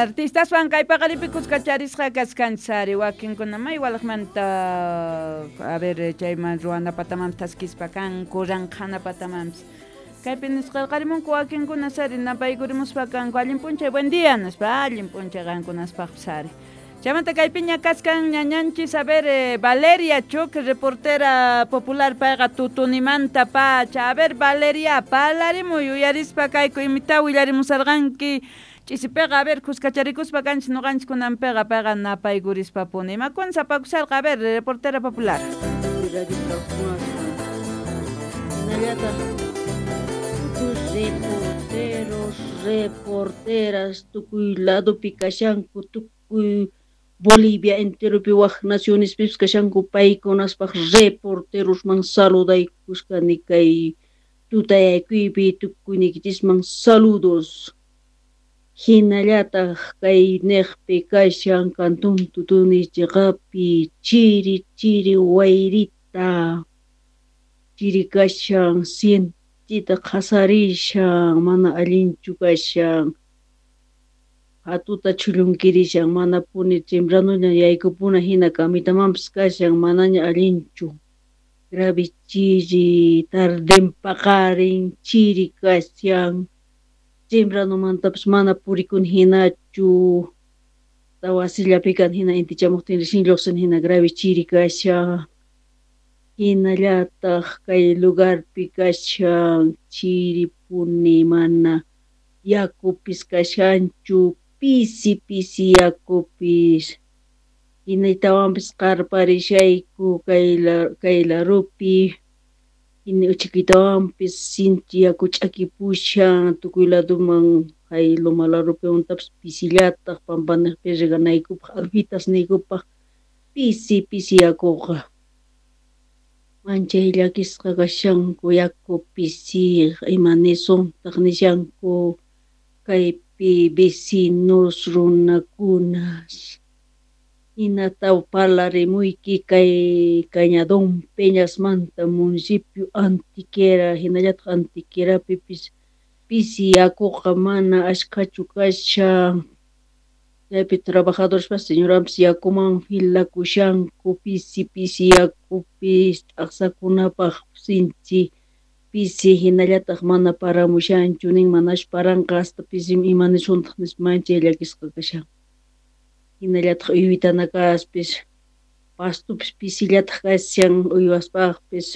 Artistaswan kay paqaripi kuskacharisqa kachkanchis ari wakinkuna may walaqmanta a ver chayman ruwana patamanpis thaskispa kanku ranqhana patamanpis kaypi nisqarqarimunku wakinkuna sari napaykurimuspa kanku allin p'unchay buen día nispa allin p'unchay qankunaspaqpis ari. Chaymanta kaypiña kachkan ñañanchis a ver Valeria Choque, reportera popular payqa Tutunimanta pacha. A ver Valeria, parlarimuy uyarispa kayku imita willarimusarqanki ch'isipiqa a ver kuskacharikuspa kanchis ñuqanchis kunanpiqa payqa napaykurishpapuni. Imakuna sapakusharqa a ver reportera popular. Hinallataq tukuy reporteros, reporteras tukuy ladopi kashanku, tukuy Bolivia enteropi wak nacionespipis kashanku paykunaspaq reporterosman saludaykushkani kay tutayaykuypi tukuyniykichisman saludos. Hinallataq kay niqpi kashan Cantón Tutuni chiqapi chiri chiri wayrita chiri kashan sinchita qhasarishan mana allinchu kashan hatuta chhullunkirishan manapuni tempranoña yaykupuna hina camitamanpis kashan manaña allinchu grave chiri tarden paqarin chiri kashan tempranomantapis mana purikuni hinachu wasillapi kan hina intichamuqtin recién lluqsin hina grave chiri kashan hinallataq kay lugarpi kashan chiripuni mana yakupis kashanchu pisi pisi yakupis hinaytawanpis qarparishayku kay larupi hina uchikitawanpis sinchi yaku ch'akipushan tukuy laduman hay loma larupiwantapis pisillataq pampaniqpi reganaykupaq alfitasniykupaq pisi pisi yakuqa manchay llakisqa kashanku yaku pisi ima nisuntaq nishanku kaypi vecinos runakunas hinata parlarimuyki kay Cañadón Peñasmanta municipio Antiquera hinallataq Antiquerapipis pisi yakuqa mana ashkhachu kashan chaypi trabajadorespas señoranpis yakuman filakushanku pisi pisi yakupis t'aqsakunapaq sinchi pisi hinallataq mana paramushanchu nin manachu paranqa hasta pisi ima nisuntaq nispa manchay llakisqa kashan hinallataq uywitana kaspis pastupis pisillataq kashan uywaspaqpis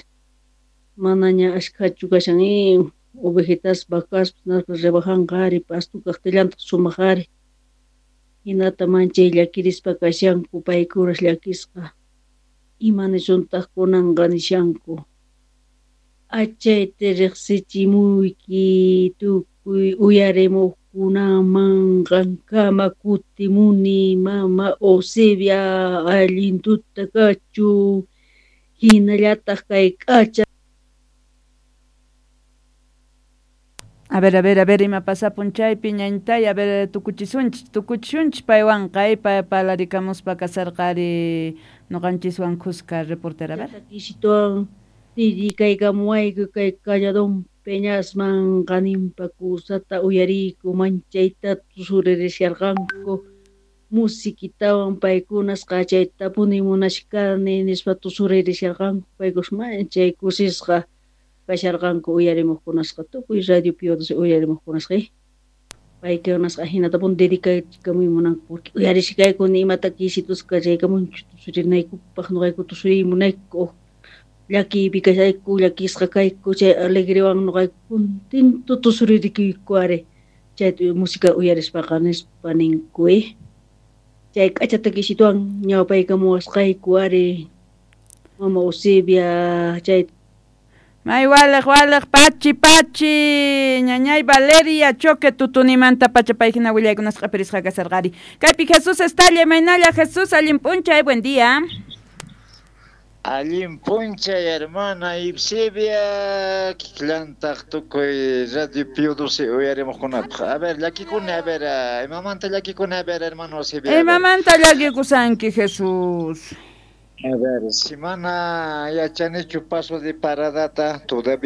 manaña ashkhachu kashan ovejitas vacaspis rebajanqa ari pastu kaqtillantaq sumaq ari hinata manchay llakirispa kashanku paykunas llakisqa ima nisuntaq kunanqa nishanku achayta riqsichimuyki tukuy uyarimuqkunaman qankama kutimuni mama Eusebia allin tuta kachun hinallataq kay k'acha. A ver, a ver, a ver, ima pasapun chaypi ñañtay, a ver, tukuchisunchis, tukuchishunchis paywanqa, parlarikamuspa kasarqari ñuqanchiswan kuska reportera, a ver. Kisituwan dedicaykamuwayku kay Cañadón Peñasman qaninpa kusata uyariyku manchayta tusurirasharqanku musiquitawan paykunas qachaytapuni munashkani nispa tusurirasharqanku paykunas manchay kusisqa kasharqanku uyarimuqkunasqa tukuy radio Pío uyarimuqkunasqa paykunasqa hinatapuni dedicaykamuy munanku porque uyarishkayku ni imata kisitus kachaykamunchu tusurinaykupaq ñuqayku tusuriy munayku llakiypi kashayku llakisqa kayku chay alegrewan ñuqayku contento tusuririkuyku ari chay música uyarispaqa nispa ninku chay k'achata kisituwan ñawpaykamuwasqayku ari mama Eusebia chay. May waliq waliq pachi pachi ñañay Valeria Choque Tutunimanta pacha payhina willaykunasqa q'ipirisqa kasarqari. Kaypi Jesús Estalla imaynalla Jesús allin p'unchay buen día. Allin p'unchay hermana Eusebia kikillantaq tukuy Radio Pío XII uyarimuqkunapaq. A ver llakikuni a ver imamanta llakikuni a ver hermano Eusebia. Imamanta llakikusanki Jesús. A ver, si mana yachanichu paso de paradata todavía.